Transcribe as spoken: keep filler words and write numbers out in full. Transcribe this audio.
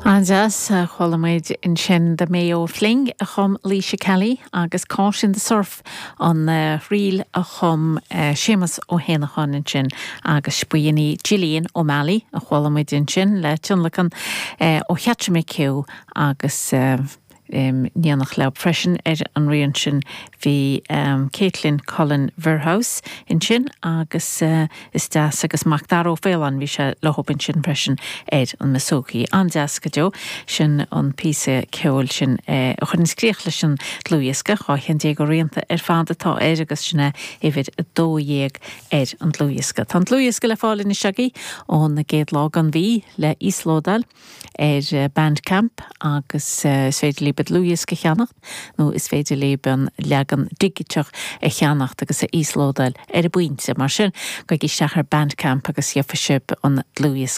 An-deas chuala muid ansin The Mayo Fling a chum Laoise Kelly agus Caught in the Surf an uh, ríl a chum uh, Séamus Ó hÉanacháin ansin agus b'in í Gillian O'Malley a chuala muid ansin le tionlacan uh, ó Cheatra McHugh agus uh, um, déanach le freisin ar an rian sin bhí um, Caitlin Cullen Verhouse ansin agus uh, is deas agus Macdara Ó Faoláin bhí sé le ansin freisin ar an mbouzouki. An-deas go deo sin an píosa ceoil sin uh, a chuireann críoch leis an dlúthdhiosca dhá cheann déag de rianta ar fad atá air agus sinna uimhir a dó dhéag ar an dlúthdhiosca. Tá dlúthdhiosca le fáil anois agaibh ón gcéad lá den mhí le íoslódáil ar eh, Bandcamp agus uh, is féidir libh dlúthdhiosca a cheannacht nó is féidir libh an leagan digiteach a cheannacht agus a íoslódáil ar an bpointe mar sin gabhaigí isteach ar Bandcamp agus gheobhaidh sibh an dlúthdhiosca